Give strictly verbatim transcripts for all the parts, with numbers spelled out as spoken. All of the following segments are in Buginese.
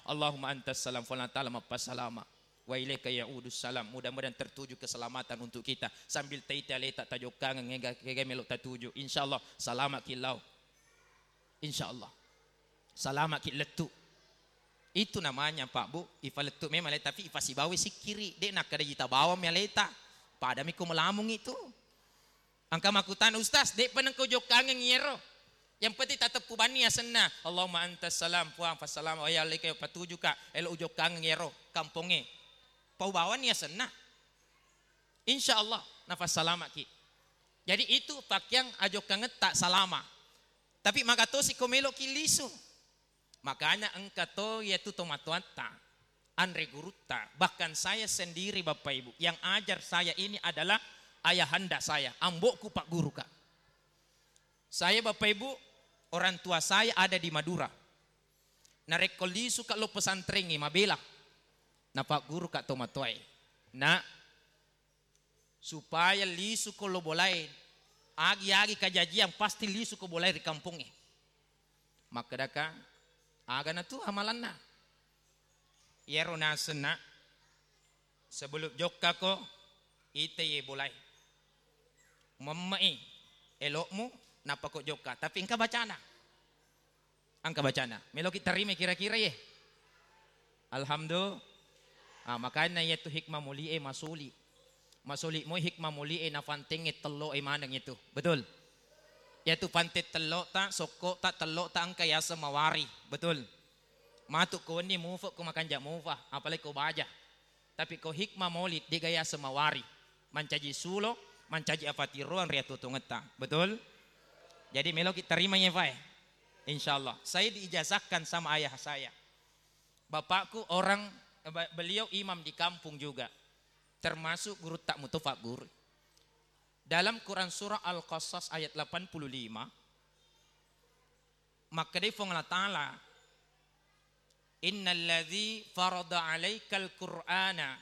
Allahumma antas salam, Puang Allah Ta'ala mappasalama. Wa ilaika ya'udus salam. Mudah-mudahan tertuju keselamatan untuk kita. Sambil taiti aleta tajokkangeng ega, ega melo tatuju. Insyaallah salama ki lao. Insyaallah. Salama ki lettu. Itu namanya, Pak Bu, ifalettu memang aleta, tapi ifasibawa sikkiri. De nakkeda jita bawang mi aleta. Padami ko melamung itu. Engka makkutana, "Ustaz, de'pa nengka ujokkangeng iyaro. Yang penting tateppu banni asenna. Allahumma antas salam, Puang, fassalam, wa ilaika patujuka, elo ujokkangeng iyaro kampongnge." Pau bawanni asenna. Insya Allah, nafassalamaki. Jadi itu pakkiang ajokkangetta salama. Tapi magatosi ko meloki lisu. Makanya engka to iyatu tomatoatta, anre gurutta, bahkan saya sendiri Bapak Ibu, yang ajar saya ini adalah ayahanda saya, ambokku Pak Guru, Kak. Saya Bapak Ibu, orang tua saya ada di Madura. Narekko lisu Kak lo pesantrengngi mabela. Na Pak Guru Kak tomatoae. Nak, supaya lisu ko lo bolae, agi-agi kajajiang pasti lisu ko bolae ri kampongnge. Makkedaka, agana tu amalanna. Iyaro nasenna, sebelum jokkako, ite ye bolae. Memme'i elokmu, nappa ko jokka. Tapi engka bacana. Engka bacana. Meloki tarima kira-kira ye. Alhamdulillah. Ah, makanya iyatu hikmah mulie masuli. Masuli moi hikmah mulie na fantengnge telloe maneng itu. Betul? Iyatu pante tellota, sokkota, tellota engka yaseng mawari. Betul? Matu ko wenni mufe ko makanja mufa, apalagi ko baja. Tapi ko hikmah maulid, dega yaseng mawari. Mancaji sulo, mancaji afatiroang ri atuo-tuongetta. Betul? Jadi meloki tarima ye, Fae. Insya Allah. Saya diijazahkan sama ayah saya. Bapakku orang, eh, ba-, beliau imam di kampung juga. Termasuk gurutta muto Pak Guru. Dalam Quran surah Al-Qasas ayat delapan puluh lima, makkedai Puang Allah Ta'ala, "Innalladzi farada 'alaikal Qur'ana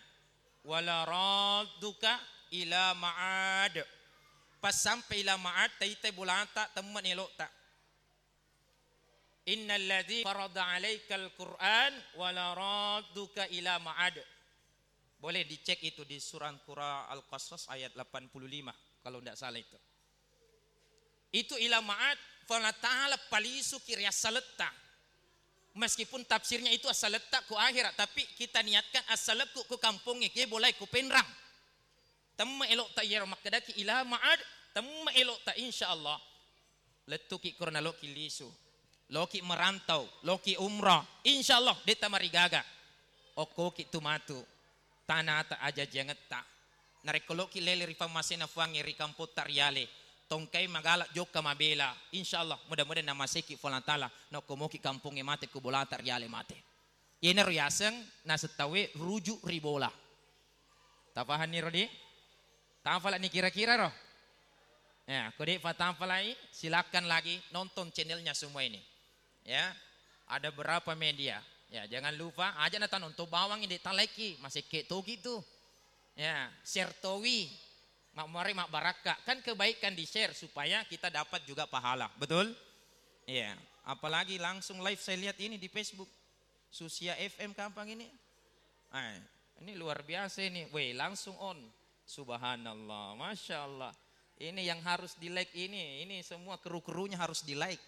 wala radduka ila ma'ad." Pas sampai ila ma'ad, taitai bolata, temme' elokta. "Innalladzi farada 'alaikal Qur'an wala radduka ila ma'ad." Boleh dicek itu di surah Qura Al-Qasas ayat delapan puluh lima, kalau ndak salah itu. Itu ila ma'ad, Puang Allah Ta'ala palisuki ri assaletta. Meskipun tafsirnya itu assaletta ku akhirat, tapi kita niatkan assalekku ku kampongnge, ke bolai ku Penrang. Temme' elokta iyaro makkedaki ila ma'ad, temme' elokta, insya Allah. Lettuki korona loki lisu. Loki merantau, loki umrah. Insya Allah, detta marigaga. Okkoki tu matu. Tanata ajajiangetta. Narekko loki lele ri pammasena Puangnge ri kampotta riale. Tongkai magala jokka mabela. Insya Allah, mudah-mudahan namaseki Puang Allah Ta'ala. Nokko moki kampongnge mate, ku bolata riale mate. Iyanaro yaseng naseng tauwe rujuk ri bola. Tapahanni rodi? Tafalani kira-kira ro? Ya, ko de' patafalai, silakan lagi nonton channelnya semua ini. Ya, ada berapa media. Ya, jangan lupa, aja nata nonton bawang ini, talaiki, masekke togi tu. Ya, share towi, mak-, mari mabbarakka. Kan kebaikan di-share supaya kita dapat juga pahala. Betul? Iya, apalagi langsung live saya lihat ini di Facebook. Susia F M kampang ini. Eh, ini luar biasa ini. Weh, langsung on. Subhanallah, Masya Allah. Ini yang harus di-like ini. Ini semua kru-krunya harus di-like.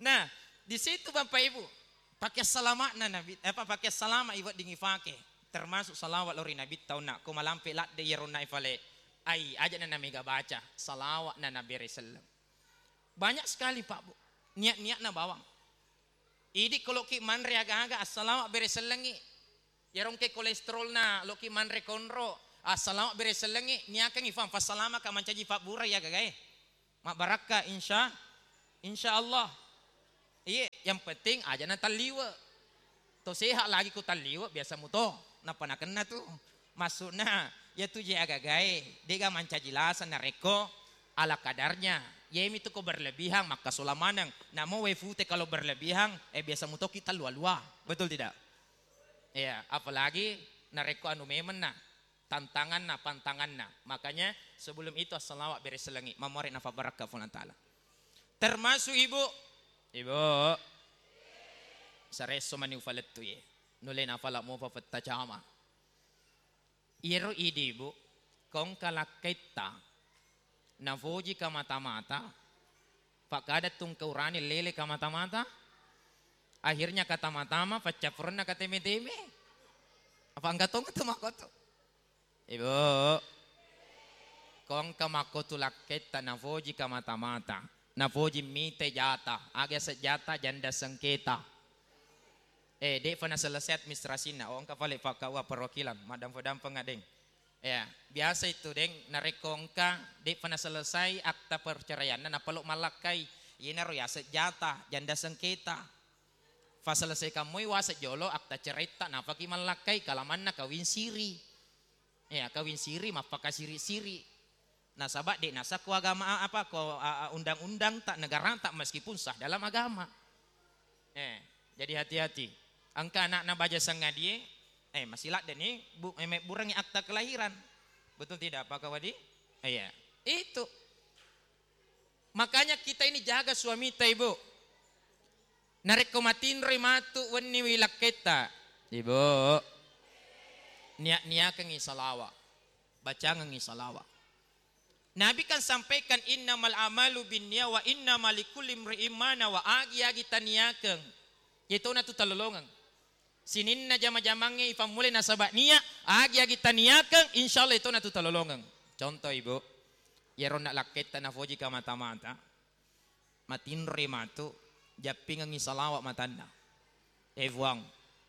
Nah, di situ Bapak Ibu, pakai selamatna Nabi, eh, apa, pakai selamat iweddingi fake. Termasuk salawat lori Nabi taunna. Ko malampe ladde iyaro naifale. Ai, aja na namega baca. Salawat na nabere selleng. Banyak sekali, Pak Bu. Niat-niatna bawang. Idi ko loki manre aga-aga, assalawa bere sellengi. Yarongke kolesterolna loki manre konro, assalawa bere sellengi. Niakengi fam, fassalamaka mancaji fabbura ya gagae. Mabbarakka, insya, insya Allah. Iye, yang penting aja na talliwe. To sehat lagi ku talliwe, biasa muto. Nappa nakenna tu. Maksudna, ya tu je agagae, dega mancaji lasa narekko ala kadarnya. Yemi tu ko berlebihan, makkasola maneng. Namo wae fute kalau berlebihan, eh, biasa mutoki talua-lua. Betul tidak? Ya, apalagi narekko anu memenna, tantanganna, pantanganna. Makanya sebelum itu assalawat bere selengi, mamore nafa barakka Puang Ta'ala. Termasuk ibu, ibu, Saresso mani ufalettu ye. Nulle nafala mopa fetta cama. Iyaro idi, Bu, kongka lakketta nafoji kamata-mata, pakada tungke urane lele kamata-mata, akhirnya katama-tama, paccappurenna kateme-teme. Apa engka tong tu makoto? Ibu, kongka makkotu lakketta nafoji kamata-mata, nafoji mite jata, aga sejata janda sengketa. Eh, de'fa naselesai administrasinna, oh, engka fale pakkaua perwakilan, maddampa-dampa ngadeng. Ya, biasa itu, Deng, narekko engka de'fa naselesai akta perceraianna, napalo mallakkai, yenaro yaseng jata, janda sengketa. Faselesaikan moi waseng jolo akta ceraitta, napaki mallakkai, kalamanna kawing siri. Ya, kawing siri, mappakasiri-siri. Nasaba de' nasah ko agama, apa, ko, a, a, undang-undang ta, negara ta, meskipun sah dalam agama. Eh, jadi hati-hati. Engka anakna baja sangadie, eh, masih ladde ni, bu, eh, mebburengi akta kelahiran. Betul tidak, Pak Kawadi? Iya. Itu. Makanya kita ini jaga suamita, Ibu. Narekko matinroi matu wenni wi lakketta, Ibu, nia-niakengngi salawa, bacangengngi salawa. Nabi kan sampaikan, "Innamal amalu binniya wa innama likulli imri'in ma nawa." Agi-agi taniakeng, yetona tu talolongeng. Sininna jama-jamangnge ifammulai nasaba nia, agi-agi taniakeng, insyaallah yetona tu talolongeng. Contoh, Ibu, iyaro na lakketta nafoji kamata-mata, matinroi matu, jappingengngi salawa matanna. Eh, Fuang,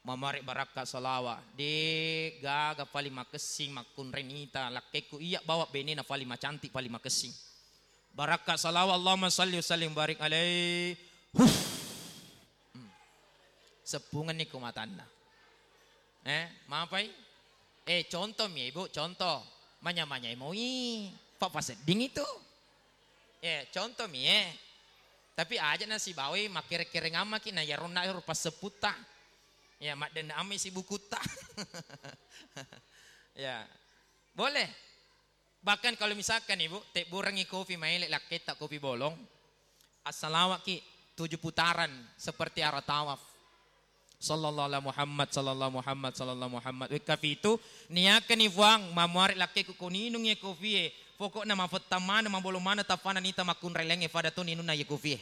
mamare barakka salawa, de gaga paling makessing makkunrai nita lakkekku, iya bawa benena paling macantik, paling makessing. Barakka salawa, Allahumma salli wa sallim barik alaih. Huh. Hmm. Seppungenni ko matanna. Eh, mapai? Eh, contoh mi, Ibu, contoh. Manya-manyai moi. Fa-, fasedding itu. Eh, contoh mi, eh. Tapi aja na sibawai makkere-kereng ammaki na yaronna ero passepputta. Ya, maddenna ammi sibukutta. Ya. Boleh. Bahkan kalau misalkan, Ibu, tebburengngi kopi maele lakketta, kopi bolong, assalawaki tujuh putaran seperti arah tawaf. Sallallahu ala Muhammad, sallallahu Muhammad, sallallahu Muhammad. Wekka fitu, niakkani Fuang, mamuare lakkeku ko ninung ye kopi e. Pokokna mafettang maneng, mabolong maneng, taffana nita makkunrai laingnge fada to ninunna ye kopi e.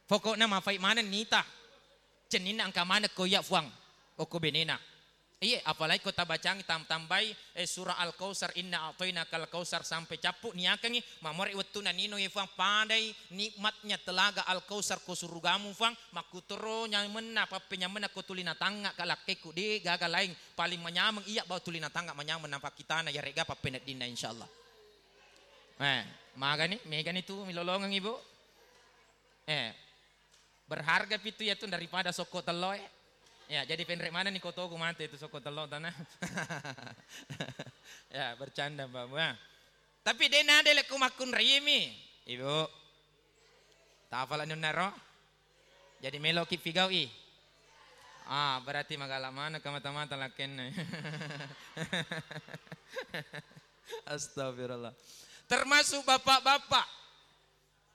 Pokokna mafai maneng nita. Cenninna engka maneng ko iya Fuang, okko benena. Iye, apalagi ko tabacangi tam-, tambai, eh, surah Al-Kautsar, "Inna a'tainakal kautsar," sampai cappu niakengngi, mamore wettunna nino ye Fuang, padai nikmatnya telaga Al-Kautsar ko surugamu Fuang, makkutoro nyamenna, pappenyamenna ko tuli natangnga ka lakkekku, de gaga laing paling manyameng iya bawa tuli natangnga manyameng napakkitana yarega pappeneddinna insyaallah. Eh, magani, megani tu milolongeng Ibu. Eh, berharga pitu ya tu daripada sokko tello e. Ya, jadi penre mana ni kotoku mate itu sokko tello tanah. Ya, bercanda, Mbak. Wah. Tapi de nade lekku makkunrai mi. Ibu. Tafala nunnaro. Jadi meloki figaui. Ah, berarti magala mana kamata-mata lakenna. Astagfirullah. Termasuk bapak-bapak.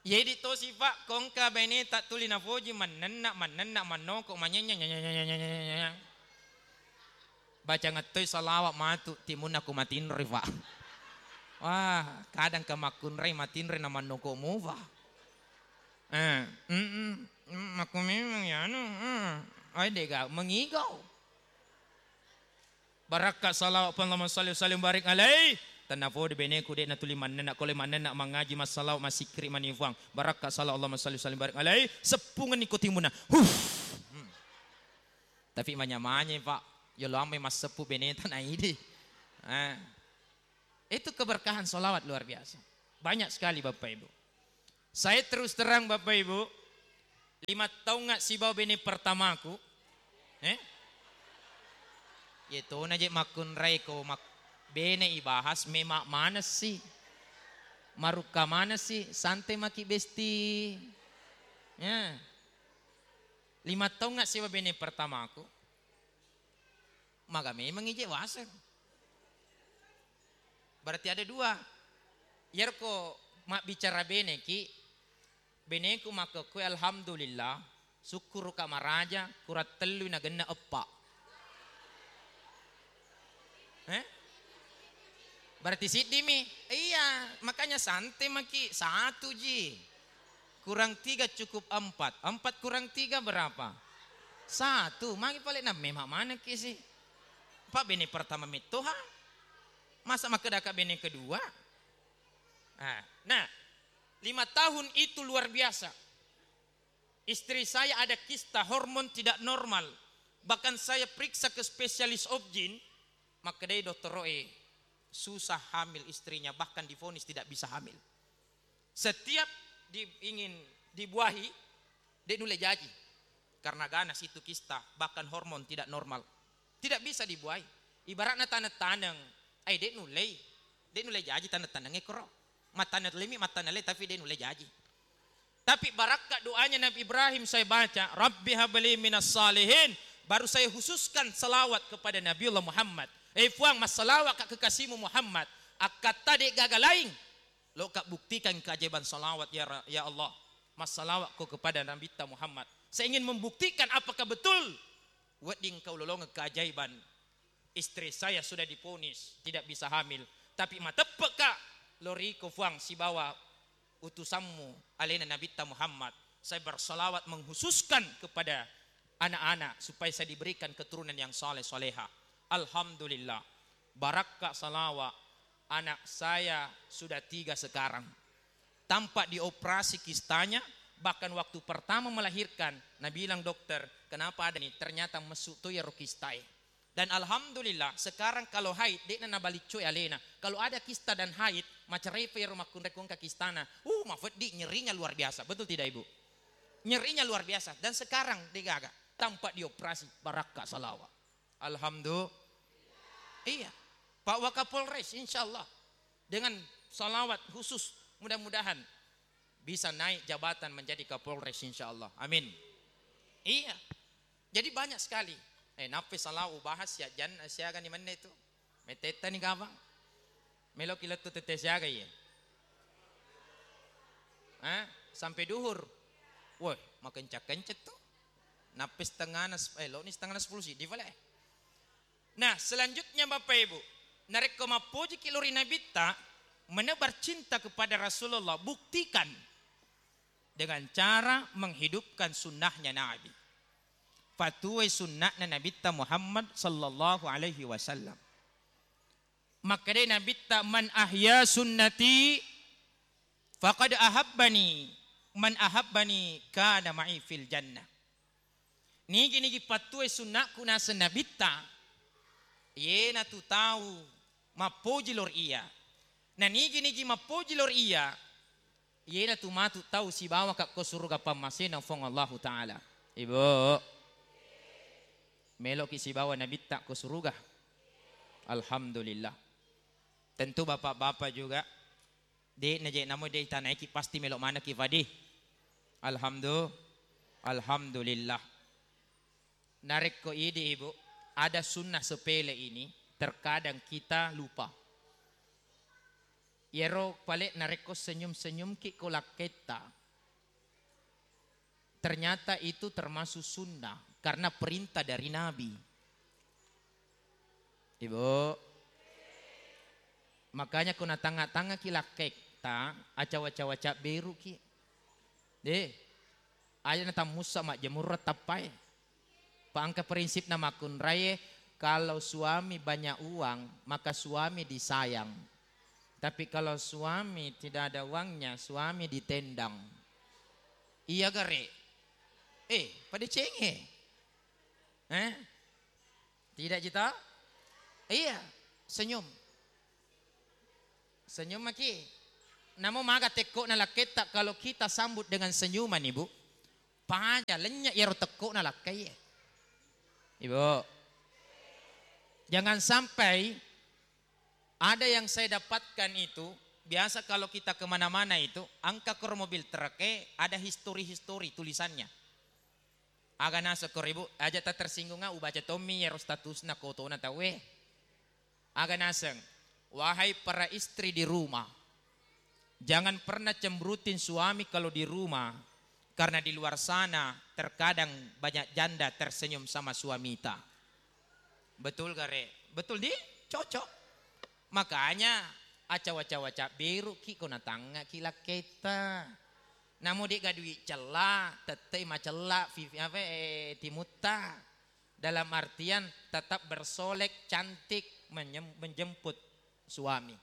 Yedi tosi, Pak, kongka baineta tuli nafoji mannenna, mannenna, mannoko, manyenyeng, nyenyeng, nyenyeng, nyenyeng, nyenyeng. Baca ngettoi salawat matu timunna ku matinroi, Pak. Wah, kadang ke makkunrai matinroi na mannoko mufa. Eh, mm, mm, mm, makku memang ya anu, mm. Ai dega mengigau. Barakka salawat, Allahumma salli wa sallim barik alaih. Tenna fodi beneku de natuli mannenna, kole mannenna mangaji, massalawat, massikkiri mani Fuang. Barakka salawat, Allahumma salli wa sallim barik alaih. Seppungenni ko timunna. Huh. Hmm. Tapi manya-manya, Pak. Yolo ammai masseppu beneta na idi. Eh. Itu keberkahan salawat luar biasa. Banyak sekali, Bapak Ibu. Saya terus terang, Bapak Ibu, lima taungnga sibawa bene pertamaku, eh? Yetona je makkunrai ko mak-, bene ibahas, mema manesi, marukka manesi, santai maki besti. Ya. Lima taungnga sibawa bene pertamaku, maga memang ije waseng. Berarti ada dua. Iyaro ko mabbicara beneki, beneku makkekkoe, "Alhamdulillah, Sukkuruka maraja, kurang tellui nagenna eppa. Eh? Berarti siddimi? Iya, makanya santai maki, satu ji. Kurang tiga cukup empat. Empat kurang tiga berapa? Satu. Magi pale na memang mana ki sih? Pak bene pertama metoha. Masa makedaka bene kedua? Nah, nah, lima tahun itu luar biasa. Istri saya ada kista, hormon tidak normal. Bahkan saya periksa ke spesialis obgyn, makkedai dokter Roe, susah hamil istrinya, bahkan divonis tidak bisa hamil. Setiap di, ingin dibuahi, de nulle jaji. Karena ganas itu kista, bahkan hormon tidak normal. Tidak bisa dibuahi. Ibaratna taneng-taneng, ai de nullei, de nulle jaji taneng-taneng ekoro. Mataneng lemi, mataneng le, tapi de nulle jaji. Tapi barakka doanya Nabi Ibrahim saya baca, "Rabbi habli minas salihin." Baru saya khususkan salawat kepada Nabiullah Muhammad. Eh Puang, massalawat ka kekasihmu Muhammad. Akkatta de gaga laing. Loka buktikan keajaiban salawat ya Ra-, ya Allah. Massalawat ko kepada Nabitta Muhammad. Saya ingin membuktikan apakah betul wedding kau lolongeng keajaiban. Istri saya sudah diponis tidak bisa hamil, tapi mateppeka loriko Fuang sibawa utusanmu alena Nabitta Muhammad. Saya bersalawat mengkhususkan kepada anak-anak supaya saya diberikan keturunan yang saleh soleha. Alhamdulillah, barakka salawa, anak saya sudah tiga sekarang. Tanpa dioperasi kistanya, bahkan waktu pertama melahirkan, nabilang dokter, "Kenapa ada nih?" Ternyata messu to iyaro kistae. Dan alhamdulillah, sekarang kalau haid, de'na nabaliccoi alena. Kalau ada kista dan haid, macerai pa iyaro makkunrai ko engka kistana. Uh, mafeddi, nyerinya luar biasa. Betul tidak, Ibu? Nyerinya luar biasa. Dan sekarang de gaga, tanpa dioperasi, barakka salawa. Alhamdulillah. Iya. Pak Wakapolres, insya Allah, dengan salawat khusus, mudah-mudahan bisa naik jabatan menjadi Kapolres, insya Allah. Amin. Iya. Jadi banyak sekali. Eh, nappi salawa ubahas ya, jan siaga ni menne itu. Metetta ni gabang. Meloki lettu tette siaga iye. Eh, sampai duhur. Woi, makencak-kencak tuh. Nappi setengahna, eh, lo ni setengahna sepuluh sidi pale. Nah, selanjutnya Bapak Ibu, narekko mappojiki lori Nabitta, menebar cinta kepada Rasulullah, buktikan dengan cara menghidupkan sunnahnya Nabi. Patuai sunnahna Nabitta Muhammad sallallahu alaihi wasallam. Makkedai Nabitta, "Man ahya sunnati faqad ahabbani, man ahabbani kana ma'i fil jannah." Nigi-nigi pattuai sunnakku naseng Nabitta, iyenatu tau mappoji lor iya. Na nigi-nigi mappoji lor iya, iyenatu matu tau sibawaka ko suruga pammasena Fuang Allahu Ta'ala. Ibu, meloki sibawa Nabitta ko suruga? Alhamdulillah. Tentu bapak-bapak juga, de' naje namo de' itanaiki, pasti melo manekki fadi. Alhamdu-, Alhamdulillah. Narekko idi, Ibu, ada sunnah sepele ini, terkadang kita lupa. Iyaro pale narekko senyum-senyumki ko lakketta, ternyata itu termasuk sunnah karena perintah dari Nabi. Ibu, makanya ko natangnga-tangngaki lakketta, acawa-cawa cabberuki. Deh, aja natammussa majjemurra tappae. Pa engka prinsipna makkunraie, kalau suami banyak uang, maka suami disayang. Tapi kalau suami tidak ada uangnya, suami ditendang. Iya gare? Eh, pada cenge. Eh? Tidak jita? Iya, senyum. Senyum maki. Namo maga tekko'na lakketta kalau kita sambut dengan senyuman, Ibu. Paja lenya iyaro tekko'na lakkaie. Ibu. Jangan sampai ada yang saya dapatkan itu, biasa kalau kita kemana-mana itu, angka koro mobil truk e ada histori-histori tulisannya. Aga naseng koro, Ibu, aja ta tersinggung, ah, ubaca tommi iyaro statusna kotona tauwe. Aga naseng, wahai para istri di rumah, jangan pernah cemberutin suami kalau di rumah, Karena di luar sana terkadang banyak janda tersenyum sama suamita. Betul gare? Betul di? Cocok. Makanya aca waca-waca beru ki ko natangnga ki lakketta. Namo de' gadui cella, tette macella, vivi apa, eh, timutta. Dalam artian tetap bersolek, cantik, menyem-, menjemput suami.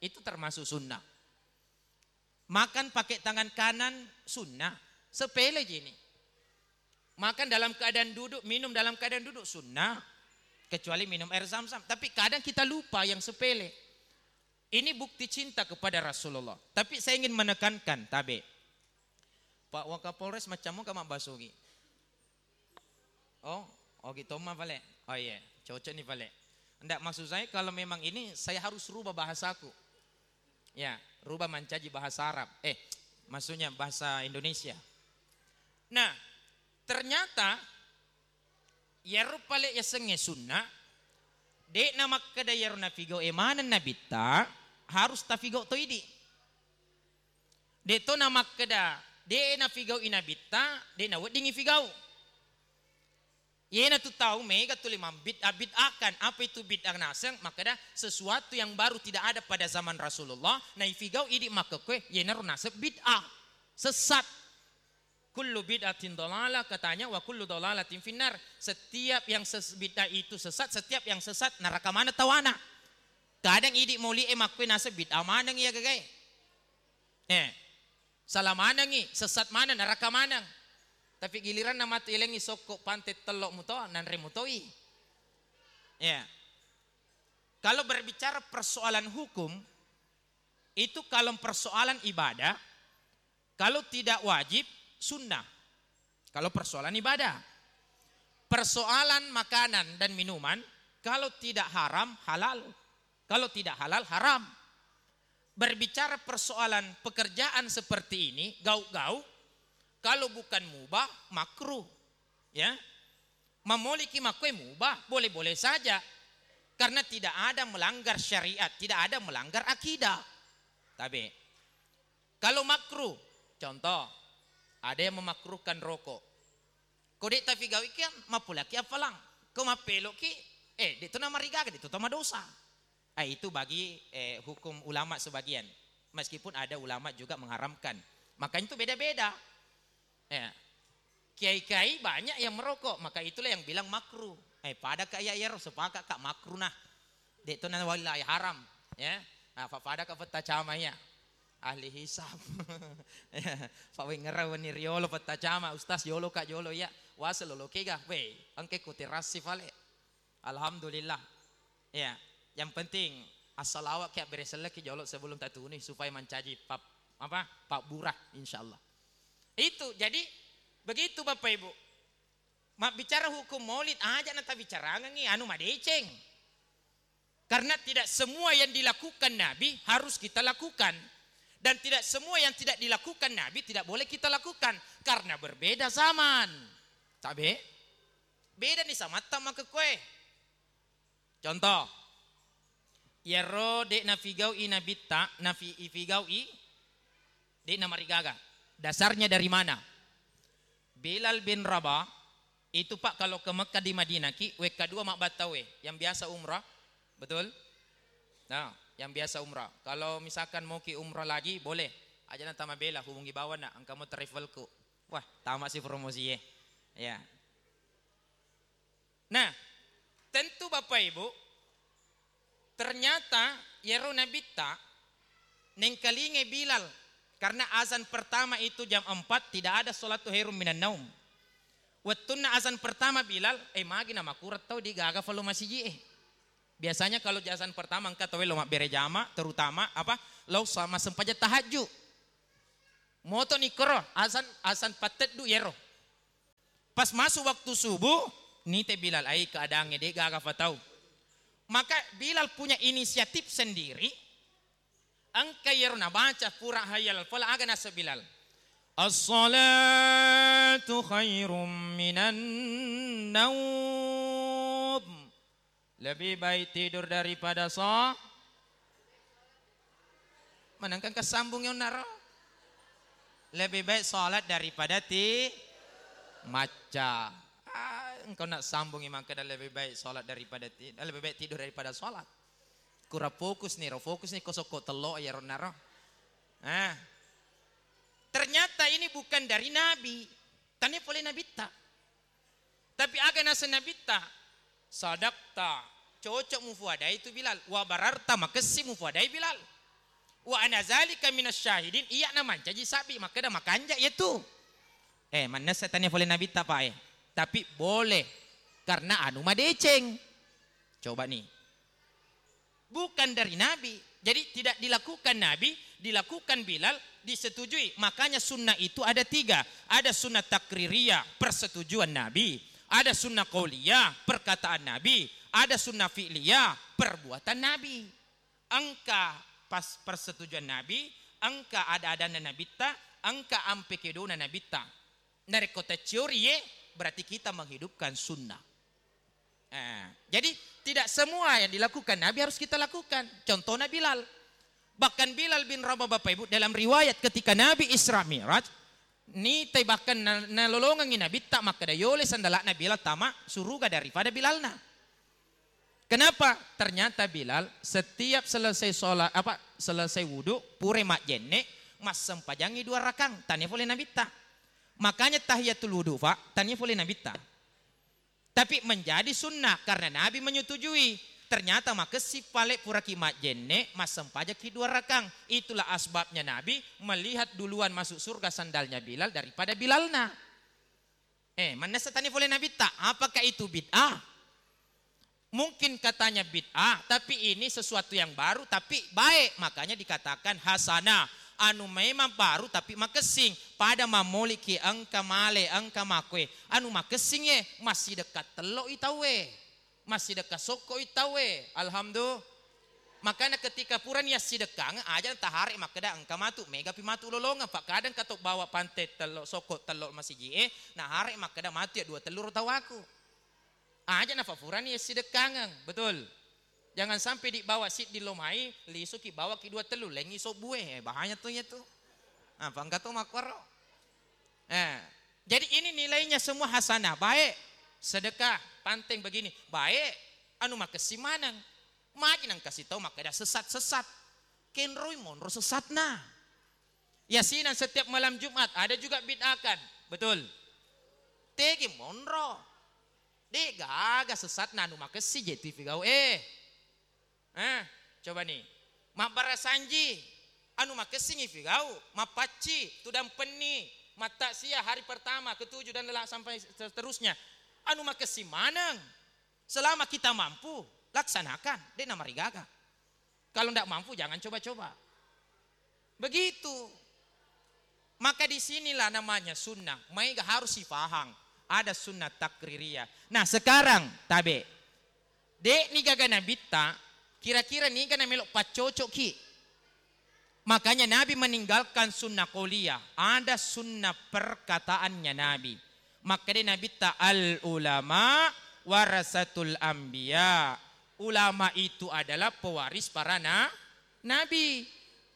Itu termasuk sunnah. Makan pakai tangan kanan sunnah, sepele ji ini. Makan dalam keadaan duduk, minum dalam keadaan duduk sunnah, kecuali minum air zam-zam. Tapi kadang kita lupa yang sepele. Ini bukti cinta kepada Rasulullah. Tapi saya ingin menekankan, tabe. Pak Wakapolres macam mau mabbasogi. Oh, ogi tomma pale. Oh iya, cocok nih pale. Ndak, maksud saya kalau memang ini saya harus rubah bahasaku. Ya, rubah mancaji bahasa Arab. Eh, maksudnya bahasa Indonesia. Nah, ternyata iyaro pale yasengnge sunnah, de'na makkeda iyaro nafigau e maneng nabitta, harus tafigau to idi. De'to namakkeda, de' nafigau'i nabitta, de' naweddingi figau. Iyanatu tau mega tuli mambid'ah-bid'ahkan. Apa itu bid'ah naseng? Makkeda sesuatu yang baru tidak ada pada zaman Rasulullah, naifigau idi makkekkoe, iyanaro naseng bid'ah. Sesat. Kullu bid'atin dalalah, katanya, wa kullu dalalatin finnar. Setiap yang ses-, bid'ah itu sesat, setiap yang sesat neraka maneng tawana. Kadang idi mauli'e makkue naseng bid'ah maneng iya gagae. Eh, salah manengi, sesat maneng, neraka maneng. Tapi giliranna matu elengi sokko pante tello muto, nanre mutoi. Ya. Kalau berbicara persoalan hukum, itu kalau persoalan ibadah, kalau tidak wajib, sunnah. Kalau persoalan ibadah. Persoalan makanan dan minuman, kalau tidak haram, halal. Kalau tidak halal, haram. Berbicara persoalan pekerjaan seperti ini, gauk-gauk, kalau bukan mubah, makruh. Ya. Mamoliki makkue mubah, boleh-boleh saja. Karena tidak ada melanggar syariat, tidak ada melanggar akidah. Tabe. Kalau makruh, contoh, ada yang memakruhkan rokok. Ko de' tafigau'i kan, mappulaki affalang. Ko mappeloki, eh, de' to namarigaga, de' to tamadosa. Eh, itu bagi, eh, hukum ulama sebagian. Meskipun ada ulama juga mengharamkan. Makanya itu beda-beda. Ya. Kiai-kiai banyak yang merokok, maka itulah yang bilang makruh. Eh, pada ka iya, iya, sepakat ka makruh nah. De' to na wallahi haram, ya. Nah, fa-, pada ka pettacama iya. Ahli hisab. Ya, fa wengngerang wenni riolo pettacama, ustaz jolo ka jolo iya. Wase lolo kega, weh, engke ku terasi fale. Alhamdulillah. Ya, yang penting assalawat ki abbere selleki jolo sebelum tatuni supaya mancaji pap-, apa? Pabbura, insyaallah. Itu, jadi begitu Bapak Ibu. Mabbicara hukum maulid, aja na tabicarangengi anu madeceng. Karena tidak semua yang dilakukan Nabi harus kita lakukan. Dan tidak semua yang tidak dilakukan Nabi tidak boleh kita lakukan. Karena berbeda zaman. Tabe? Beda nih samatta makkekkoe. Contoh, iyaro de' nafigau'i nabitta, nafi-, ifigau'i, de' namarigaga. Dasarnya dari mana? Bilal bin Rabah itu, Pak, kalau ke Mekah di Madinah ki, wekka dua mabbattawe, yang biasa umrah, betul? Nah, yang biasa umrah. Kalau misalkan mau ki umrah lagi, boleh. Aja na tamabela, hubungi bawa nak, engka mau travelku. Wah, tamat si promosi ya. Ya. Nah, tentu Bapak Ibu, ternyata iyaro nabitta nengkalingai Bilal, karena azan pertama itu jam empat, tidak ada sholatu khairum minan naum. Wettunna azan pertama Bilal, eh, magi na makurang tau di gaga falo masiji eh. Biasanya kalau azan pertama engka tau lo mabbere jama, terutama apa, lo sama sempajang tahajud. Moto ni koro azan, azan patteddu iyaro. Pas masuk waktu subuh, nite Bilal, ai keadaannya de' gaga fatau. Maka Bilal punya inisiatif sendiri. Engka iyaro nabaca pura hayya alal falah, aga naseng Bilal? As-salatu khairum minan naum. Lebih baik tidur daripada so-, manengka engka sambung yang naro. Lebih baik sholat daripada ti-, macca. Ah, engkau nak sambungi makkeda lebih baik sholat daripada ti-, lebih baik tidur daripada sholat. Kura fokus nih, ro fokus nih, kosokko tello ya ro naro. Ah. Ternyata ini bukan dari Nabi. Tania pole Nabitta. Tapi aga naseng Nabitta, sadaqta, cocok mufuadai tu Bilal, wa bararta, makessi mufuadai Bilal. Wa ana zalika minasy syahidin, iya na mancaji sabbi, makkeda makanja iya tu. Eh, mannessa tania pole Nabitta, Pak, eh. Tapi boleh, karena anu madeceng. Coba nih. Bukan dari Nabi. Jadi tidak dilakukan Nabi, dilakukan Bilal, disetujui. Makanya sunnah itu ada tiga. Ada sunnah takririyah, persetujuan Nabi. Ada sunnah qauliyah, perkataan Nabi. Ada sunnah fi'liyah, perbuatan Nabi. Engka pas persetujuan Nabi, engka ada-adana Nabitta, engka ampe kedona Nabitta. Narekko tacciori ye, berarti kita menghidupkan sunnah. Eh, jadi tidak semua yang dilakukan Nabi harus kita lakukan. Contohnya Bilal. Bahkan Bilal bin Rabah, Bapak Ibu, dalam riwayat ketika Nabi Isra Mi'raj, nitai bahkan na-, nalolongengi Nabitta makkeda yole sandala'na Bilal tama suruga daripada Bilalna. Kenapa? Ternyata Bilal setiap selesai sholat, apa, selesai wudhu, pure majjenne, massempajangi dua rakang, tania pole Nabitta. Makanya tahiyatul wudhu, Pak, tania pole Nabitta. Tapi menjadi sunnah karena Nabi menyetujui. Ternyata makessing pale puraki majjenne, massempajaki dua rakang. Itulah asbabnya Nabi melihat duluan masuk surga sandalnya Bilal daripada Bilalna. Eh, mannessa tania pole Nabitta, apakah itu bid'ah? Mungkin katanya bid'ah, tapi ini sesuatu yang baru, tapi baik. Makanya dikatakan hasanah. Anu memang baru, tapi makessing. Pada mammoliki engka male, engka makkue. Anu makessing ye, massidekka tello i tauwe. Massidekka sokko i tauwe. Alhamdulillah. Makanya ketika purani yassidekkangeng, aja taharek makkeda engka matu, megapi matu lolongeng. Pak, kadang kato bawa pante tello, sokko tello masiji e, naharek makkeda matu ya dua tellu ro tawaku. Aja nafa purani yassidekkangeng, betul? Jangan sampai dibawa siddi lo mai, lisuki bawaki dua tellu, lengi sobbue, eh, bahaya tuh ya tuh. Apa engka to makkoro? Eh, jadi ini nilainya semua hasanah, baik. Sedekah, panteng begini, baik. Anu makessing maneng. Magi nang kasih tahu makkeda sesat-sesat. Kenroi monro sesatna. Yasinan setiap malam Jumat ada juga bid'ahkan. Betul. Tegi monro. De gaga sesatna anu makessing je tu ifigau. Eh. Eh, coba nih. Mabbarasanji anu makessingi figau, mappacci, tudang penni, mattaksiah hari pertama, ketujuh dan lelak sampai seterusnya. Anu makessing maneng. Selama kita mampu, laksanakan, de namarigaga. Kalau ndak mampu, jangan coba-coba. Begitu. Maka di sinilah namanya sunnah. Maega harus sifahang. Ada sunnah takririyah. Nah, sekarang tabe. Dek nigaga nabitta, kira-kira niga namelo paccocoki. Makanya Nabi meninggalkan sunnah qauliyah. Ada sunnah perkataannya Nabi. Makkeda Nabitta, "Al ulama warasatul anbiya." Ulama itu adalah pewaris para na-, nabi.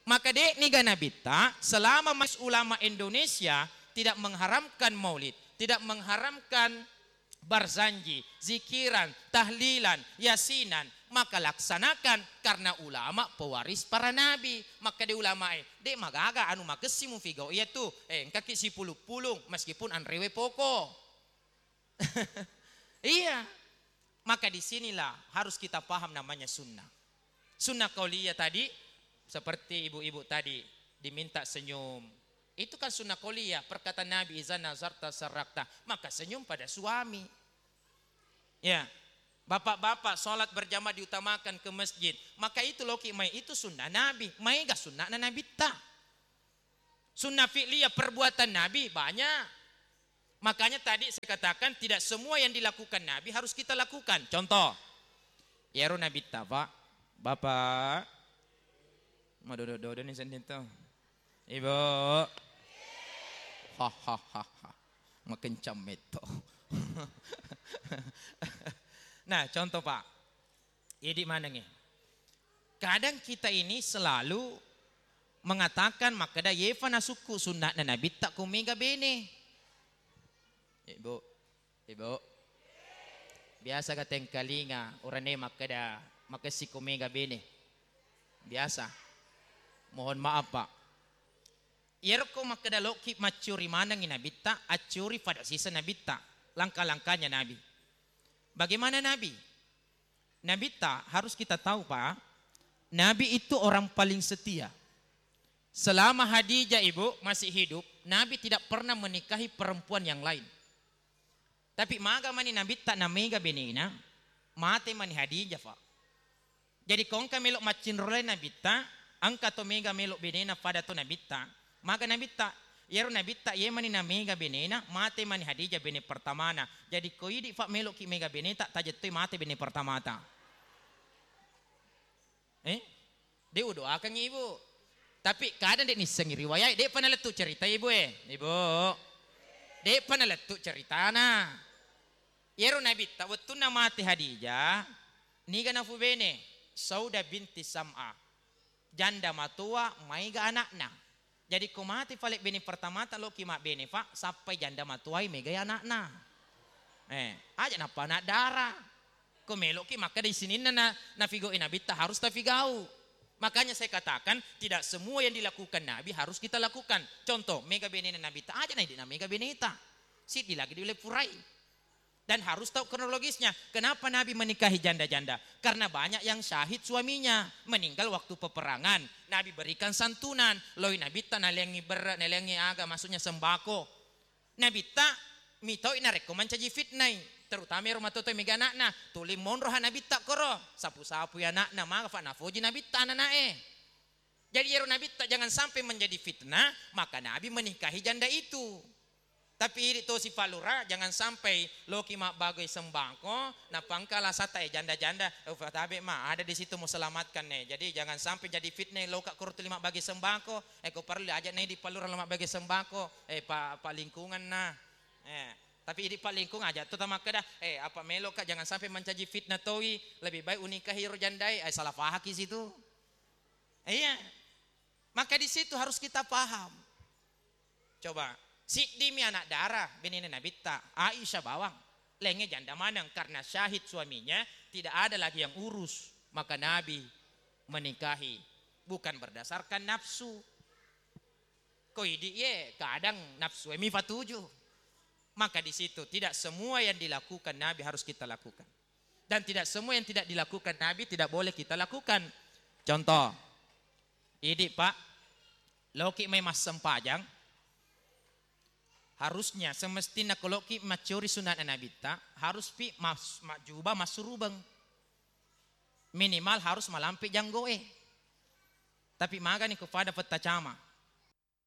Maka dek niga nabitta, selama mas ulama Indonesia tidak mengharamkan maulid, tidak mengharamkan barzanji, zikiran, tahlilan, yasinan, maka laksanakan karena ulama pewaris para nabi. Maka de ulama e, dek magaga anu makessing mufigau iya tu, eh, engkaki sipulung-pulung meskipun anrewe poko. Iya. Maka di sinilah harus kita paham namanya sunnah. Sunnah qauliyah tadi, seperti ibu-ibu tadi, diminta senyum. Itu kan sunnah qauliyah, perkataan Nabi, "Iza nazarta sarrakta." Maka senyum pada suami. Ya. Bapak-bapak, sholat berjamaah diutamakan ke masjid. Maka itu loki mai, itu sunnah Nabi. Maega sunnahna Nabitta. Sunnah fi'liyah, perbuatan Nabi banyak. Makanya tadi saya katakan tidak semua yang dilakukan Nabi harus kita lakukan. Contoh, iyaro Nabitta, Pak, Bapak, madodo-dodo nih sendiri tuh. Ibu. Hahaha. Makencang metto. Nah, contoh, Pak. Idi manengnge. Kadang kita ini selalu mengatakan makkeda, "Yefa nasukku sunna'na Nabitta ko mega bene." Ibu, ibu. Biasa ga tengkalinga urane makkeda, "Makessiko mega bene." Biasa. Mohon maaf, Pak. Iyaro ko makkeda loki maccuri manengi Nabitta, accuri pada sisa Nabitta, langkah-langkahnya Nabi. Bagaimana Nabi? Nabitta harus kita tahu, Pak, Nabi itu orang paling setia. Selama Hadijah, Ibu, masih hidup, Nabi tidak pernah menikahi perempuan yang lain. Tapi maga mani Nabitta na mega benena, mate mani Hadijah, Pak. Jadi ko engka melo maccinrolai Nabitta, engka to mega melo benena pada to Nabitta. Maga Nabitta, iyaro Nabitta ye mani na mega benena, mate mani Hadijah bene pertamana. Jadi ko idi, Pak, meloki mega beneta, tajettoi mate bene pertamata. Eh? De udoakengngi, Ibu. Tapi kadang de nissengi riwayat, de'pa nalettu cerita, Ibu, eh. Ibu. De'pa nalettu ceritana. Iyaro Nabitta wettunna mate Hadijah, niga nafubene? Sauda binti Sam'a. Janda matoa maega anakna. Jadi ko mate fale bene pertamata, loki mabbene, Pak, sappai janda matoai megai anakna. Eh, aja nappa anak dara. Ko meloki makkeda sininna na, nafigau Nabitta harus tafigau. Makanya saya katakan, tidak semua yang dilakukan Nabi harus kita lakukan. Contoh, mega benena Nabitta, aja na idi na mega beneta. Siddi lagi diulle purai. Dan harus tahu kronologisnya. Kenapa Nabi menikahi janda-janda? Karena banyak yang syahid suaminya meninggal waktu peperangan. Nabi berikan santunan. Loi Nabitta nalengi berre, nalengi aga, maksudnya sembako. Nabitta mitoi narekko mancaji fitnai, terutama ero matoa-toa mega anakna. Tuli monroha Nabitta koro, sapu-sapui anakna, maga fa nafoji Nabitta ananae. Jadi ero Nabitta jangan sampai menjadi fitnah, maka Nabi menikahi janda itu. Tapi idi tosi Pak Lurah, jangan sampai loki mabbagoi sembako, nappa engka alasatta, eh, janda-janda, eh, fatabe ma, ada di situ mau selamatkan nih. Jadi jangan sampai jadi fitnah, loka koro tuli mabbagi sembako, eh, ko perlu aja nih di Pak Lurah lo mabbagi sembako, eh, Pak, Pak Lingkungan nah. Eh, tapi idi Pak Lingkung aja tu tamakkeda, eh, apa meloka jangan sampai mancaji fitnah toi, lebih baik unikahi ro jandai, eh, salah fahaki situ. Iya. Maka di situ harus kita paham. Coba, siddimi anak dara benena Nabitta, Aisyah bawang. Lenge janda maneng karena syahid suaminya, tidak ada lagi yang urus. Maka Nabi menikahi bukan berdasarkan nafsu. Ko idi ye, kadang nafsu mi fatuju. Maka di situ tidak semua yang dilakukan Nabi harus kita lakukan. Dan tidak semua yang tidak dilakukan Nabi tidak boleh kita lakukan. Contoh, idi Pak, loki mai massempajang, harusnya semestinna ko loki maccuri sunana Nabitta, harus pi mas-, majjuba massurubeng. Minimal harus malampe janggoe. Tapi magani ko pada pettacama.